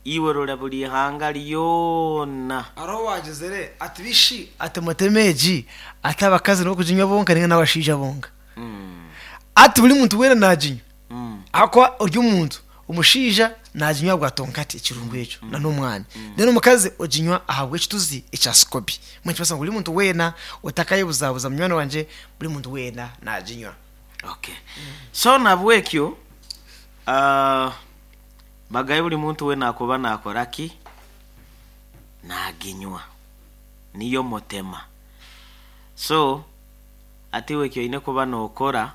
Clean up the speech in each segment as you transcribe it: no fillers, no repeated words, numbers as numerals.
Iwe rora buri ihanga ryona. Hariho owaagizire ati, Bishi ati mutema egi, ati abakazi nibo kuginywa bonka nainga n'abashaija bonka? Ati buri muntu weena naaginywa, ahakuba ori omuntu omushaija naaginywa ahabwa tonkati ekirungo ekyo n'omwani, then omukazi oginywa ahabw'ekituzi ekya sikobi. Mbwenu nikimanyisa ngu buri muntu weena otakayebuzabuza munywani wangye, buri muntu weena naaginywa. Okay. So nabwekyo Bagaye buri muntu weena akuba naakora ki? Naaginywa. Niyo mutema. So, hati iwe eki oine kuba nookora,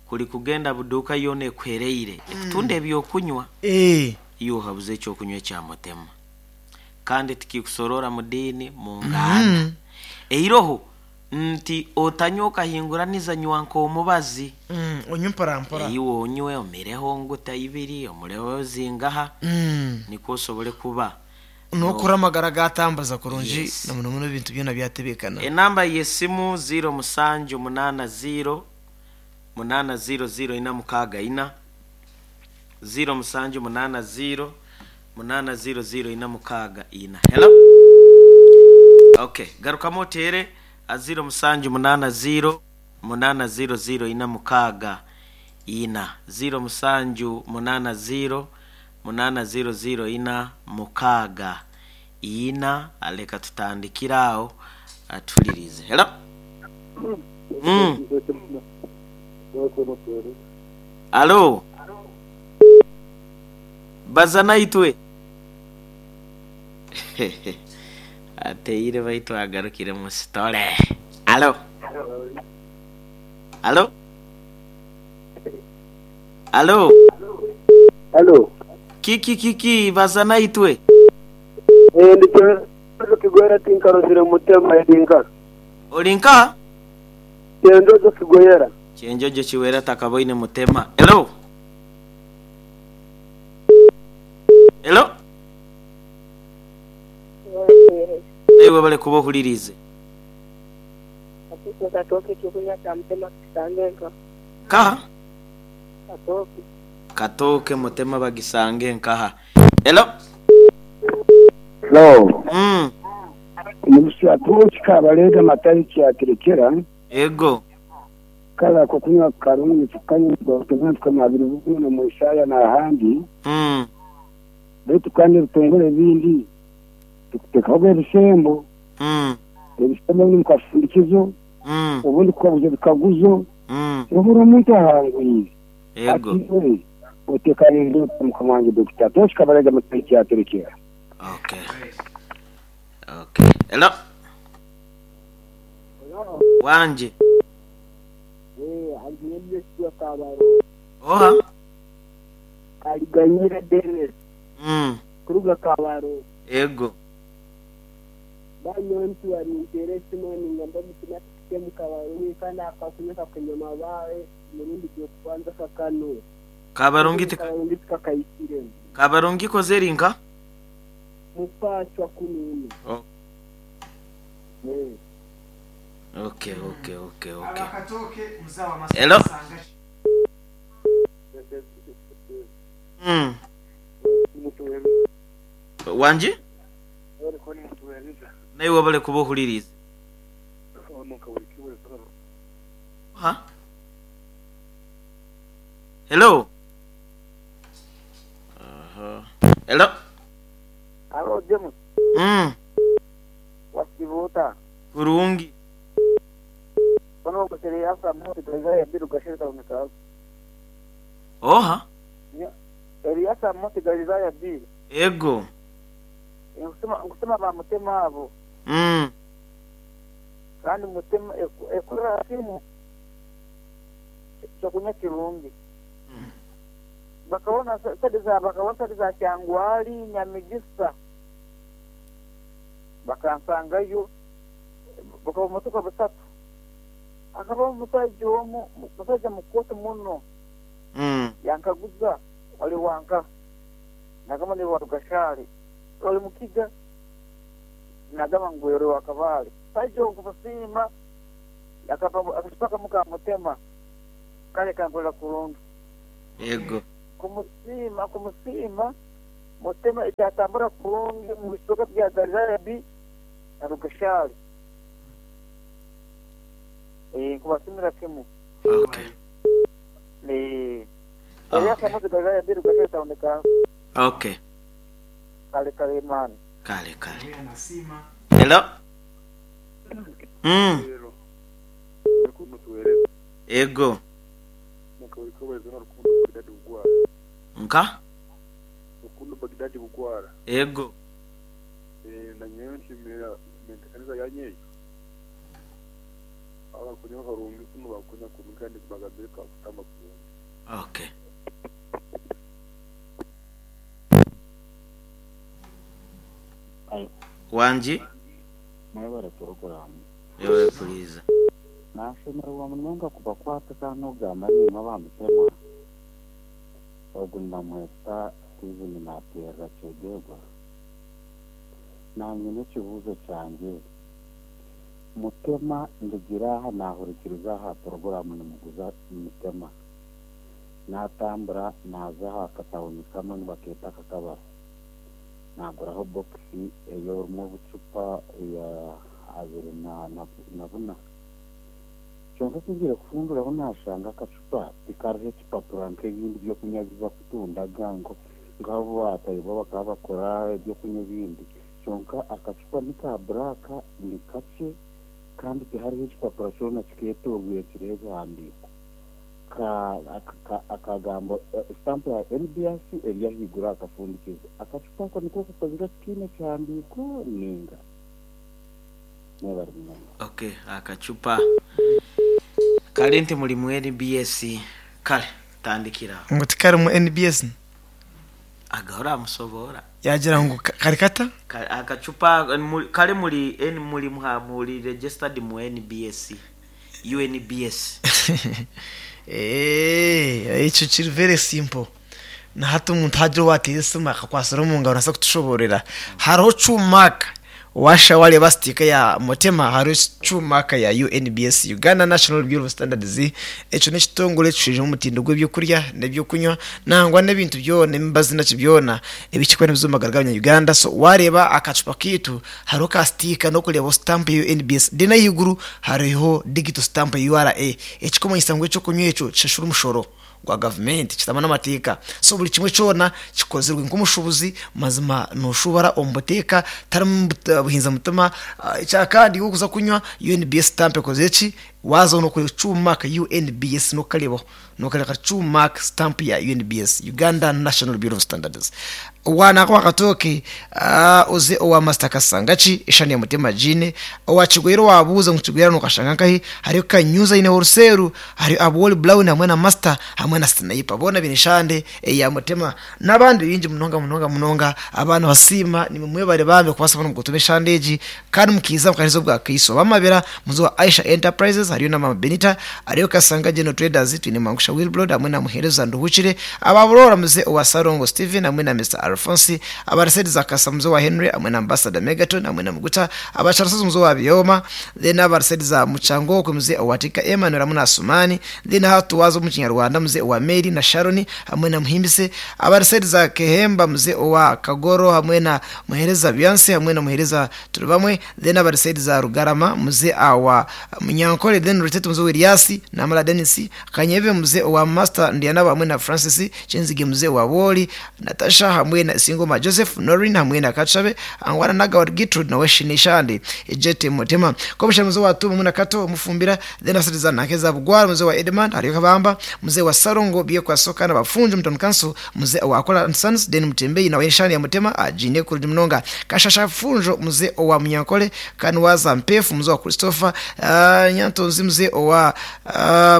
kuri kugenda buduuka yoona ekuhereire ekutunda eby'okunywa, iwe ohabuze eky'okunywa ekya mutema. Kandi tikikusoroora mu diini, mu nganda. Eiroho Nti otanywa okahinguraniza nywa nk'omubazi. Onywe mpora mpora. Iwe onywe omireho nguta ibiri omureho zingaha nikwo osobole kuba. N'okura amagara gatambuza kurungi na muno muno ebintu byona byatebekana. Enamba y'esimu ziiro musanju munaana ziiro munaana ziiro ziiro ina mukaaga ina, ziiro musanju munaana ziiro Munaana ziiro ziiro ina mukaaga ina. Hello? Okay, garukamu oteere a ziiro musanju munaana ziiro munaana ziiro ziiro ina mukaaga ina. Ziiro musanju munaana ziiro munaana ziiro ziiro ina mukaaga ina. Leka tutandikire aho tuhuririize. Hello? Mm. Alo? Baza naitwe. Ateire baitu agarukire mu sitore. Alo? Alo? Alo? Halo. Kiki kiki baza naitwe. Eh, ndi Kyenjojo Kigoyera tinkarozire mutema eri nka. Ori nka? Kyenjojo Kigoyera. Kyenjojo Kiwera takaboine mutema. Hello? Hello? Naiwe webale kuba ohuririize. Nkaha? Katooke mutema bagisange nkaha? Hello? Hello. Mm. Omusi Kabalega Matayo Kyaterekera. Ego. Kale ako kunywa karungi tukanywa tukanywa tukanywa biri bwino mu Isaaya n'ahandi. Beitu kandi ebitongore ebindi tukutekaho ebisembo. Ebisembo obundi mukafundikizo, obundi kukaguza ebikaguzo. Obura omuntu ahangwire. Ego. Ati iwe otekaniire ota mukama wangye Dokita Tosh Kabarega Matayo Kyaterekera. Okay. Okay. Hello. Wangi. Oha? Aliganyira Dennis kuruga Kabarole. Ego. Banyowe ntiwarinteera esimu ningamba mutima tuhike omu Kabarole kandi akakunywa kakunywa mabaare omurundi gw'okubanza kakanura. Kabarungi tika. Kabarungi tikakahikiremu. Kabarungi koze eri nka? Mupaachwa kununu. Oh. Okay, okay, okay, okay. Hello? Mm. Wangi? Naiwe webale kuba ohuririize. Ha? Hello? Aha. Hello? Halo James. Wasiiba ota? Kurungi. Mbwenu ogwo Eliasa Moti Galilaya Biru Gasheri Kaboneka. Oha? Eliasa Moti Galilaya Biru. Ego. Nkusima ba Mutema abo. Kandi Mutema ekorera kimwe kyokunywa kirungi. Bakabona sente za bakabona sente za Kyangwali, Nyamigisa. Bakansangayo bukaba bumotoka busatu. Hakabaho omusaija omu, musaija mukooto muno, yankaguza oli wa nkaha? Nagamba ndi wa Rugashari. Oli Mukiga? Nagamba ngu oli wa Kabale. Omusaija ogu kumusiima akampa akacupa kamu ka mutema kale kankorera kurungi. Yego. Kumusiima kumusiima. Mutema ekyatambura kurungi omu bicweka bya Galilaya B na Rugashari. Eh, nkubasimira kimu. Okay. Eh, Okay. Elias Amozi Galilaya B Rugashari Town Council. Okay. Kale kale man. Kale kale. Hello. Ego. Nka? Rukundo Bagdad Bugwara. Ego. Nanyowe nshemera entebeekanisa yanyu egyo. Abakunywa karungi kunu bakunywa kubi kandi bagambire twakutamba kurungi. Okay. Wangi? Mwebare puroguraamu. Yebare kuhuriiriza. Nashemererwa munonga kubakwata kandi n'okugamba naimwe aba Mutema. Ogu nibamweta Steven nateerera Kyegegwa. Naanye n'ekibuuzo kyangye, Mutema ndugire aha naahurikiriza aha puroguraamu nimuguza Mutema. Naatambura naaza aha katawuni kamwe nibakeeta Kakabaro. Naaguraho bokisi erimu obucupa ya abiri na buna. Kyonka ku ngiire kufunduraho naashanga akacupa tikariho ekipapura nk'ebindi by'okunywa ebi barikutunda nk'abu baatayibwa bakaba bakora eby'okunywa ebindi. Kyonka akacupa ni ka buraaka, ni kakye kandi tihariho ekipapura kyona kikeetoorweire kiriho ebihandiiko. Akagambo sitampu ya NBS eri ahaiguru aha kafundikizo. Akacupa ako niko kakozirwe tikaine kihandiiko nainga? Mwebare munonga. Ok akacupa kare nti muri mu NBS kare tandikira aho. Ngu tikarimu NBS? Agahora amusoboora. Yaagira ngu kari kata? Akacupa kare muri muri muri registered mu NBS. UNBS. Eeh, ekyo kiri very simple. Na hati omuntu hagira owateera esimu akakwatsira omu ngaro naabaasa kutushoboororera. Hariho true mark waashusha waareeba sitiika ya Mutema hariho true mark ya UNBS, Uganda National Bureau of Standards. Ekyo n'ekitongore ekishwijuma omutindo gw'ebyokurya n'ebyokunywa nangwa n'ebintu byona, emibazi naki byona ebirikuba nibiza omu magara g'abanya-Uganda. So waareeba akacupa kaitu hariho ka sitiika n'okureebaho sitampu ya UNBS then ahaiguru hariho digital stamp ya URA ekikumanyisa ngu ekyokunywa ekyo kishashura omushoro gwa gavumenti kitamu n'amateeka. So buri kimwe kyona kikozirwe nk'omushuubuzi mazima noshubara omu buteeka tarimu buhinza mutima. Ekyakandi iwe orikuza kunywa UNBS stamp ekozire ki? Waazaho nokureeba cuumark UNBS nokukareebaho nokareeba ka cuumark stamp ya UNBS, Uganda National Bureau of Standards. Owa nako akatooke oze owa Master Kasangaki eshani ya Mutema Jean, owa Kigwera owabuuza ngu Kigwera nokashanga nkahi, hariyo Kanyuza aine Wholeseru, hariyo Abwoli Brown hamwe na Master hamwe na Sniper boona baine eshande eya Mutema n'abandi baingi munonga munonga munonga abaana basiima nimwe mwebare bambi kubaasa kubona mukutuma eshande egi kandi mukiiza mukaheereza obwa kaiso. Abamabira muze owa Aisha Enterprises hariyo na Mama Benita, hariyo Kasanga General Traders, twine Mangusha Wilbrod hamwe na Muheereza Nduhukire, aba Buroora muze owa Ssalongo Steven hamwe na Mister Alphonse, aba Ruseeds Akasa muze owa Henry hamwe na Ambassador Megaton hamwe na Muguta, aba Kyarusozi muze owa Byoma, then aba Ruseeds Mukyangokwe muze owa Tika Emmanuel hamwe na Asumani, then hati waaza omu Kinyarwanda muze owa Mary na Sharon hamwe na Muhimbise, aba Ruseeds Kehemba muze owa Kagoro hamwe na Muheereza Byansi hamwe na Muheereza Turibamwe, then aba Ruseeds Rugarama muze awa Munyankore, then Rutete muze owa Elias Namara Denis, Kanyebe muze owa Master Ndyanabo hamwe na Francis Kyenzige muze owa Wooli, Natasha hamwe na Isingoma Joseph, Noreen hamwe na Katshabe, Angwana Nagawar Gertrude nawe Shinishandi, Ejete Mutema, Kobusha muze wa Tumu na Kato Mufumbira, then Asiriza Nakeza Bugwara muze wa Edmund Hariyo Kabamba, muze wa Sarongo Byekwa Soka na Bafunju Mutoni Council, muze wa Akola and Sons, then Mutembeyi nawe Shani ya Mutema, Ajine Kurudi Munonga, Kashasha Funjo muze wa Munyankole, Kanwaza Mpefu muze wa Christopher, Nyantonzi muze wa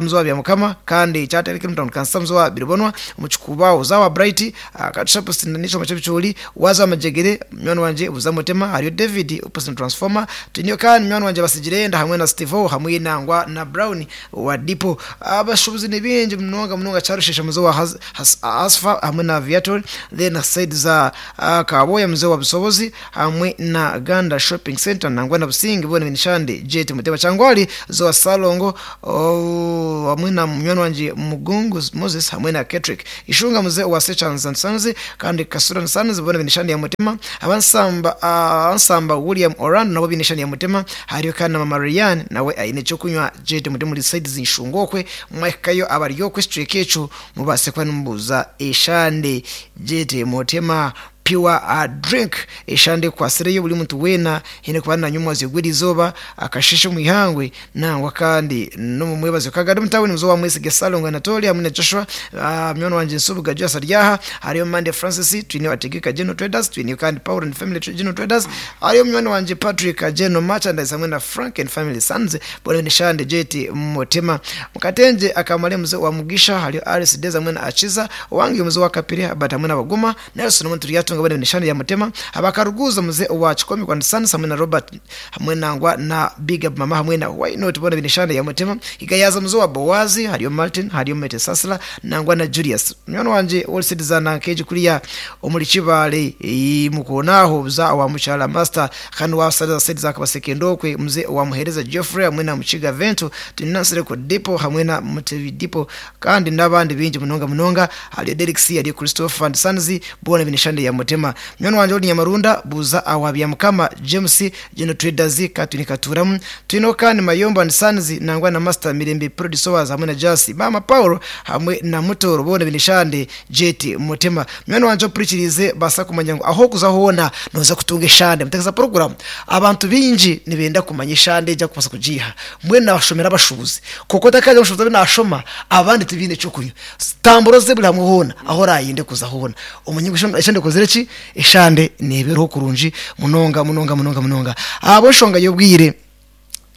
muze wa Byamukama, kandi Kyatereke Mutoni Council muze wa Biribonwa, Muchikuba uzawa Bright, Katusha Postin Nicho Machebichuli, Waza Majegere, mwana wanje Buza Mutema, hariyo David Postin Transformer, Tinyo kandi mwana wanje Basigirenda hamwe na Steve hamwe nangwa na Brown wa Dipo. Abashubuzi ni bingi munonga munonga Charushesha muze wa Asfa hamwe na Viator, then side za Kaboya muze wa Busobozi hamwe na Ganda Shopping Center nangwa na Busingi bone Minishande Jet Mutema Changwali zo Salongo oh, hamwe na munywani wangye Mugungu Moses hamwe na Ketrick Ishunga muze wa Sechanza Nsanzi kandi Kasura Nsanzi bona bine eshande ya mutima. Abansamba Ansamba William Orlando nabo bine eshande ya mutima. Hariyo kandi na Mama Ryan nawe aine ekyokunywa jete muri muri side z'inshungo okwe mwahikayo abari okwe ekicweka ekyo mubase kuba nimubuuza eshande jete mutima pure drink eshande ekwasireyo buri muntu weena haine kuba nanywa omwazyo gw'erizooba akasheshe omu ihangwe nangwa kandi n'omu mwebazyo. Kagari omu tawuni muzo wa Mwesige Salongo Anatolia hamwe na Joshua munywani wangye Nsubuga Joyce ari aha. Hariyo Monday Francis, twine Bategeka General Traders, twine kandi Paul and Family General Traders, hariyo munywani wangye Patrick General Merchandise hamwe na Frank and Family Sons bona bine eshande Jet Mutima. Mukatengye akamare muze wa Mugisha, hariyo Alice Deza hamwe na Akiza owange muze wa Kapire Herbert hamwe na Baguma Nelson omuntu Turyatunga bona bine eshande ya Mutima. Abakaruguza muze wa Kikomi kwa Sons hamwe na Robert hamwe nangwa na Big Up Mama hamwe na Why Not bona bine eshande ya Mutima. Igayaza muze wa Bowazi, hariyo Martin, hariyo Mete Sasla nangwa na Julius munywani wangye All Citizen nkeji kuriya omuri Kibale mukonaho buza wa Mukyala Master kandi wa Saliza Sediza akabasekendokwe muze wa Muhereza Geoffrey hamwe na Mukiga Vento tunansire ku Depot hamwe na Mutebi Depot kandi n'abandi bingi munonga munonga. Hariyo Derek C, hariyo Christopher and Sons bona bine eshande ya Mutima. Munywani wangye ori Nyamarunda buza awa Mukama James General Traders katuni katuramu twino kandi Mayombo and Sons nangwa na Master Mirembe Producers hamwe na Jasi Mama Paul hamwe na Mutoro bona bine eshande Jet Mutima. Munywani wangye opurikirize basa kumanya ngu aho kuza hoona noza kutunga eshande mutegeza program. Abantu bingi nibenda kumanya eshande ejya kubasa kugiha mbwenu nabashomera abashubuzi kuko takaje abashubuzi abe nashoma abandi tibine ekyokunywa tamburo ze buri hamwe hoona aho orayinde kuza hoona omunye ngu eshande ekozire ki eshande nebeeraho kurungi munonga munonga munonga munonga ahabw'enshonga y'obwire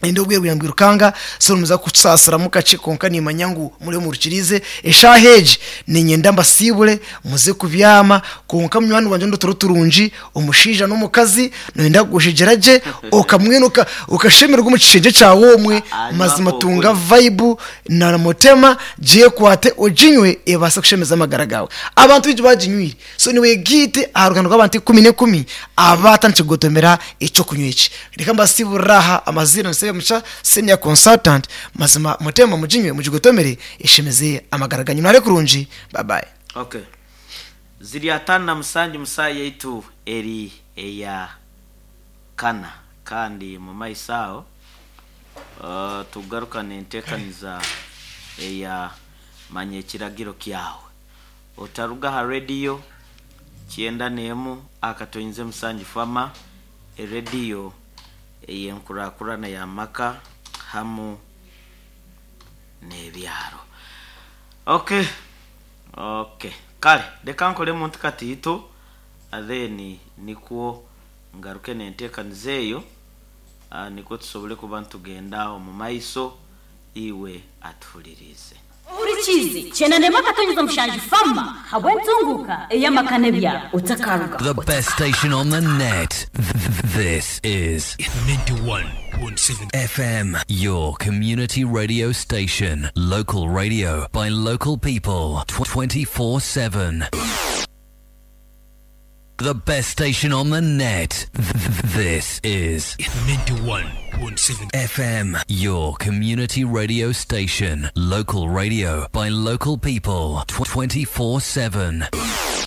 ende obwire bwira mbwirukanga so nimuza kusaasiramu kakye kwonka nimanya ngu muriyo murukirize eshaaha egi niinyenda mbasiibure muze kubyama kwonka munywani wangye ndotoro turungi omushaija n'omukazi noyenda kugushegyera gye okamwena okashemererwa omu kishengye kyawe omwe mazima tunga vibe na mutema gyekwate oginywe ebaase kushemeza amagara gaawe. Abantu baingi baginywire so niwegaite aha ruganda rw'abantu ikumi n'ekumi abaatandikire kugotomera ekyokunywa eki. Reka mbasiiburire aha amaziina Semusha senior consultant mazima mutema muginywe mugigotomere eshemeze amagara ganyu. Mware kurungi. Bye bye. Okay. Ziri 57 mu saaha yaitu eri eya kana kandi mu maiso aho tugarukane enteekaniza eya manya ekiragiro kyawe. Otaruga aha rediyo 91 akatoinze musanju fama erediyo ey'enkurakurana y'amaka hamu n'ebyaro. Okay. Okay. Kale reka nkore muntu katiito then nikwo ngaruke n'enteekaniza eyo nikwo tusobole kuba nitugenda omu maiso iwe atuhuririize. Ohurikiize Kyenda Akatonyeza Mushanju Fama habw'entunguuka ey'amaka n'ebyaro otakaruga. The best station on the net. This is 91.7 FM, your community radio station. Local radio by local people 24/7. The best station on the net. This is 91.7 FM, your community radio station. Local radio by local people 24/7.